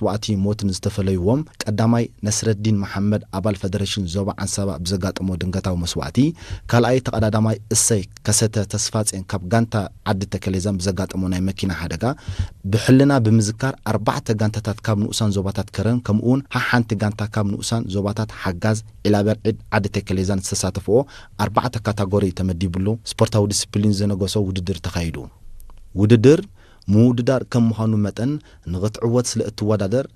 መስዋእቲ ሞትን ዝተፈለይዎም፣ ቀዳማይ ነስረዲን መሓመድ ኣባል ፈደረሽን ዞባ ዓንሰባ ብዘጋጠሞ ድንገታዊ መስዋእቲ፣ ካልኣይ ተቐዳዳማይ እሰይ ከሰተ ተስፋጼን ካብ ጋንታ ዓዲ ተከሌዛን ብዘጋጠሞ ናይ መኪና ሓደጋ ብሕልና ብምዝካር ኣርባዕተ ጋንታታት ካብ ንኡሳን ዞባታት ከረን ከምኡውን ሓሓንቲ ጋንታ ካብ ንኡሳን ዞባታት ሓጋዝ ዒላበርዒድ ዓዲ ተከሌዛን ዝተሳተፍኦ ኣርባዕተ ካታጎሪ ተመዲብሉ ስፖርታዊ ዲስፕሊን ዘነገሶ ውድድር ተኻይዱ። ውድድር ምውድዳር ከም ምዃኑ መጠን ንኽትዕወት ስለ እትወዳደር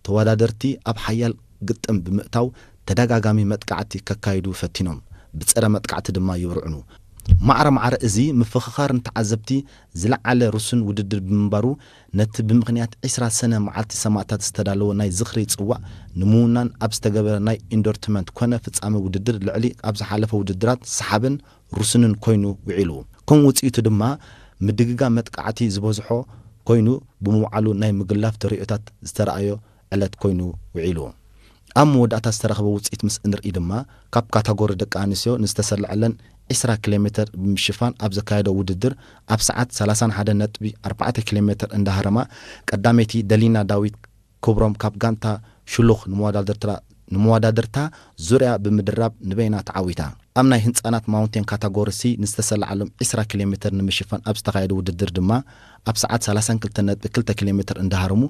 ተወዳደርቲ ኣብ ሓያል ግጥም ብምእታው ተደጋጋሚ መጥቃዕቲ ከካይዱ ፈቲኖም፣ ብጸረ መጥቃዕቲ ድማ ይብርዕኑ። ማዕረ ማዕረ እዚ ምፍኽኻር ንተዓዘብቲ ዝለዓለ ርሱን ውድድር ብምንባሩ ነቲ ብምኽንያት ዕስራ ሰነ መዓልቲ ሰማእታት ዝተዳለወ ናይ ዝኽሪ ጽዋዕ ንምውናን ኣብ ዝተገበረ ናይ ኢንዶርትመንት ኮነ ፍጻመ ውድድር ልዕሊ ኣብ ዝሓለፈ ውድድራት ሰሓብን ርሱንን ኮይኑ ውዒሉ። ከም ውጽኢቱ ድማ ምድግጋ መጥቃዕቲ ዝበዝሖ ኮይኑ ብምውዓሉ ናይ ምግላፍ ተርእዮታት ዝተረኣዮ ዕለት ኮይኑ ውዒሉ። ኣብ መወዳእታ ዝተረኸበ ውፅኢት ምስ እንርኢ ድማ ካብ ካታጎሪ ደቂ ኣንስትዮ ንዝተሰለዐለን ዕስራ ኪሎ ሜትር ብምሽፋን ኣብ ዘካየዶ ውድድር ኣብ ሰዓት ሰላሳን ሓደን ነጥቢ ኣርባዕተ ኪሎ ሜትር እንዳሃረማ ቀዳመይቲ ደሊና ዳዊት ክብሮም ካብ ጋንታ ሽሉኽ ንመወዳድርታ ዙርያ ብምድራብ ንበይና ተዓዊታ። ኣብ ናይ ህንፃናት ማውንቴን ካታጎሪ ሲ ንዝተሰለዓሎም ዕስራ ኪሎ ሜትር ንምሽፋን ኣብ ዝተኻየደ ውድድር ድማ ኣብ ሰዓት ሰላሳን ክልተን ነጥቢ ክልተ ኪሎ ሜትር እንዳሃረሙ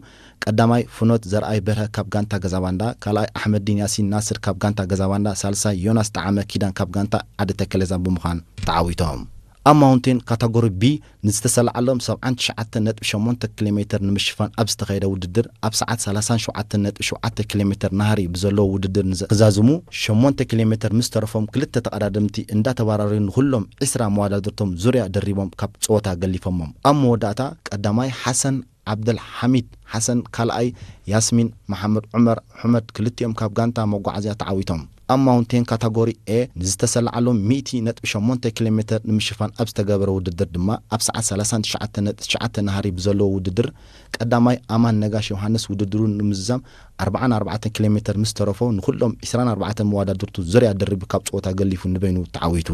ቀዳማይ ፍኖት ዘርኣይ በርሀ ካብ ጋንታ ገዛባንዳ፣ ካልኣይ ኣሕመዲን ያሲን ናስር ካብ ጋንታ ገዛባንዳ፣ ሳልሳይ ዮናስ ጠዓመ ኪዳን ካብ ጋንታ ዓዲ ተከለዛን ብምዃን ተዓዊቶም። ኣብ ማውንቴን ካታጎሪ ቢ ንዝተሰለዓሎም ሰብዓን ትሽዓተን ነጥቢ ሸሞንተ ኪሎ ሜትር ንምሽፋን ኣብ ዝተኻየደ ውድድር ኣብ ሰዓት ሰላሳን ሸውዓተን ነጥቢ ሸውዓተ ኪሎ ሜትር ናህሪ ብዘለዎ ውድድር ንዘ- ክዛዝሙ ሸሞንተ ኪሎ ሜትር ምስ ተረፎም ክልተ ተቐዳደምቲ እንዳተባራረዩ ንኹሎም ዕስራ መወዳድርቶም ዙርያ ደሪቦም ካብ ፀወታ ገሊፎሞም። ኣብ መወዳእታ ቀዳማይ ሓሰን ዓብደል ሓሚድ ሓሰን፣ ካልኣይ ያስሚን መሓመድ ዑመር ሑመድ ክልቲኦም ካብ ጋንታ መጓዓዝያ ተዓዊቶም። ኣብ ማውንቴን ካታጎሪ ኤ ንዝተሰለዓሎም ሚእቲ ነጥቢ ሸሞንተ ኪሎ ሜትር ንምሽፋን ኣብ ዝተገበረ ውድድር ድማ ኣብ ሰዓት ሰላሳን ትሽዓተን ነጥቢ ትሽዓተ ናህሪ ብዘለዎ ውድድር ቀዳማይ ኣማን ነጋሽ ዮሃንስ ውድድሩ ንምዝዛም ኣርባዓን ኣርባዕተን ኪሎ ሜትር ምስ ተረፎ ንኹሎም ዕስራን ኣርባዕተን መወዳድርቱ ዙርያ ድርቢ ካብ ፀወታ ገሊፉ ንበይኑ ተዓዊቱ።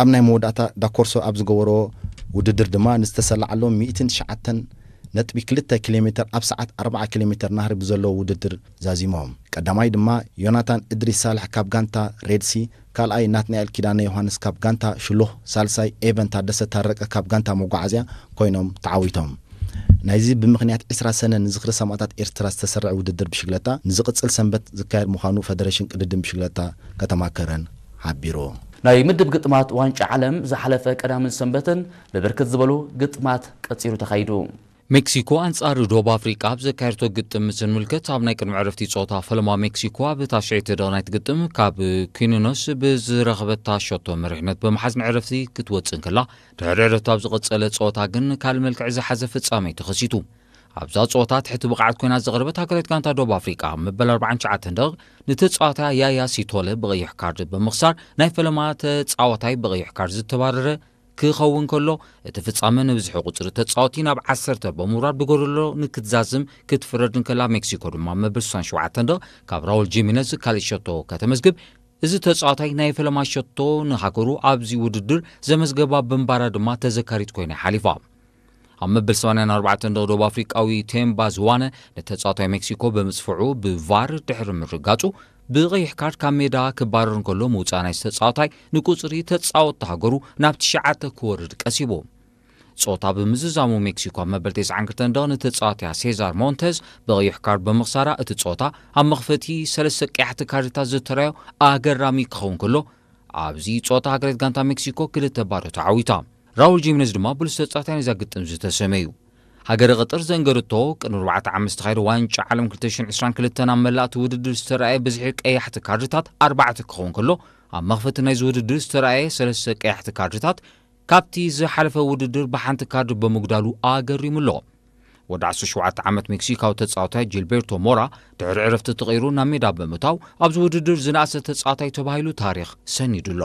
ኣብ ናይ መወዳእታ ዳኮርሶ ኣብ ዝገበሮ ውድድር ድማ ንዝተሰለዓሎም ሚእትን ትሽዓተን ነጥቢ ክልተ ኪሎ ሜትር ኣብ ሰዓት ኣርባዓ ኪሎ ሜትር ናህሪ ብዘለዎ ውድድር ዛዚሞም። ቀዳማይ ድማ ዮናታን እድሪስ ሳልሕ ካብ ጋንታ ሬድሲ፣ ካልኣይ ናትናኤል ኪዳነ ዮሃንስ ካብ ጋንታ ሽሉኽ፣ ሳልሳይ ኤቨን ታደሰ ታረቀ ካብ ጋንታ መጓዓዝያ ኮይኖም ተዓዊቶም። ናይዚ ብምኽንያት ዕስራ ሰነ ንዝኽሪ ሰማእታት ኤርትራ ዝተሰርዐ ውድድር ብሽግለታ ንዝቕጽል ሰንበት ዝካየድ ምዃኑ ፈደሬሽን ቅድድም ብሽግለታ ከተማ ከረን ሓቢሩ። ናይ ምድብ ግጥማት ዋንጫ ዓለም ዝሓለፈ ቀዳምን ሰንበትን ብብርክት ዝበሉ ግጥማት ቀጺሉ ተኻይዱ። ሜክሲኮ ኣንጻር ዶብ ኣፍሪቃ ኣብ ዘካየድቶ ግጥም ምስ እንምልከት፣ ኣብ ናይ ቅድሚ ዕረፍቲ ጸወታ ፈለማ ሜክሲኮ ኣብ ታሽዐይቲ ደቂ ናይቲ ግጥም ካብ ኪኒኖስ ብዝረኸበታ ሸቶ መሪሕነት ብምሓዝ ንዕረፍቲ ክትወጽእ እንከላ፣ ድሕሪ ዕረፍቲ ኣብ ዝቐጸለ ጸወታ ግን ካልእ መልክዕ ዝሓዘ ፍጻሜ ተኸሲቱ። ኣብዛ ጸወታ ትሕቲ ብቕዓት ኮይና ዝቐረበት ሃገራዊት ጋንታ ዶብ ኣፍሪቃ መበል ኣርባዓን ትሽዓተን ደቂቕ ንተጻዋታ ያያ ሲቶለ ብቐይሕ ካርድ ብምኽሳር ናይ ፈለማ ተጻዋታይ ብቐይሕ ካርድ ዝተባረረ ክኸውን ከሎ፣ እቲ ፍጻመ ንብዝሒ ቁጽሪ ተጻወቲ ናብ ዓሰርተ ብምውራድ ብጎደሎ ንክትዛዝም ክትፍረድ እንከላ፣ ሜክሲኮ ድማ መበል ስሳን ሸውዓተን ደቂቕ ካብ ራውል ጂሚነዝ ካልእ ሸቶ ከተመዝግብ፣ እዚ ተጻዋታይ ናይ ፈለማ ሸቶ ንሃገሩ ኣብዚ ውድድር ዘመዝገባ ብምባራ ድማ ተዘካሪት ኮይና ሓሊፋ። ኣብ መበል ሰማንያን ኣርባዕተን ደቂ ደቡብ ኣፍሪቃዊ ቴምባ ዝዋነ ንተጻዋታይ ሜክሲኮ ብምጽፍዑ ብቫር ድሕሪ ምርጋጹ ብቐይሕ ካርድ ካብ ሜዳ ክባረር እንከሎ ምውጻእ ናይዚ ተጻዋታይ ንቁጽሪ ተጻወትቲ ሃገሩ ናብ ትሽዓተ ክወርድ ቀሲቡ። ጾታ ብምዝዛሙ ሜክሲኮ ኣብ መበል ተስዓን ክልተን ደቂ ንተጻዋትያ ሴዛር ሞንተዝ ብቐይሕ ካርድ ብምኽሳራ እቲ ጾታ ኣብ መኽፈቲ ሰለስተ ቀያሕቲ ካርድታት ዝተራዮ ኣገራሚ ክኸውን ከሎ ኣብዚ ጾታ ሃገራዊት ጋንታ ሜክሲኮ ክልተ ባዶ ተዓዊታ። ራውል ጂሜነዝ ድማ ብሉጽ ተጻዋታይ ናይዛ ግጥም ዝተሰመዩ። ሃገረ ቀጠር ዘንገርቶ ቅድሚ ኣርባዕተ ዓመት ዝተኻየደ ዋንጫ ዓለም ክልተ ሽሕን ዕስራን ክልተን ኣብ መላእቲ ውድድር ዝተረኣየ ብዝሒ ቀያሕቲ ካርድታት ኣርባዕተ ክኸውን ከሎ ኣብ መኽፈቲ ናይዚ ውድድር ዝተረኣየ ሰለስተ ቀያሕቲ ካርድታት ካብቲ ዝሓለፈ ውድድር ብሓንቲ ካርድ ብምጉዳሉ ኣገሪሙ ኣሎ። ወዲ ዓሰርተ ሸውዓተ ዓመት ሜክሲካዊ ተጻዋታይ ጂልቤርቶ ሞራ ድሕሪ ዕረፍቲ ተቐይሩ ናብ ሜዳ ብምእታው ኣብዚ ውድድር ዝነኣሰ ተጻዋታይ ተባሂሉ ታሪኽ ሰኒዱ ኣሎ።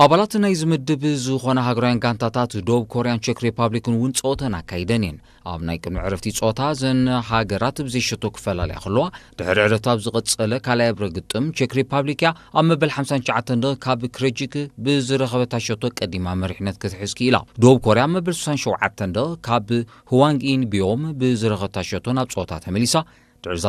ኣባላት ናይዚ ምድብ ዝኾና ሃገራውያን ጋንታታት ደቡብ ኮርያን ቼክ ሪፓብሊክን እውን ጸወተን ኣካይደን እየን። ኣብ ናይ ቅድሚ ዕረፍቲ ጸወታ እዘን ሃገራት ብዘይሸቶ ክፈላለያ ከለዋ ድሕሪ ዕረፍቲ ኣብ ዝቐጸለ ካልኣይ እብረ ግጥም ቼክ ሪፓብሊክ እያ ኣብ መበል ሓምሳን ትሽዓተን ደቂ ካብ ክሬጂክ ብዝረኸበታ ሸቶ ቀዲማ መሪሕነት ክትሕዝ ክኢላ። ደቡብ ኮርያ ኣብ መበል ስሳን ሸውዓተን ደቂ ካብ ህዋንግ ኢን ቢዮም ብዝረኸበታ ሸቶ ናብ ጸወታ ተመሊሳ። ድሕሪ እዛ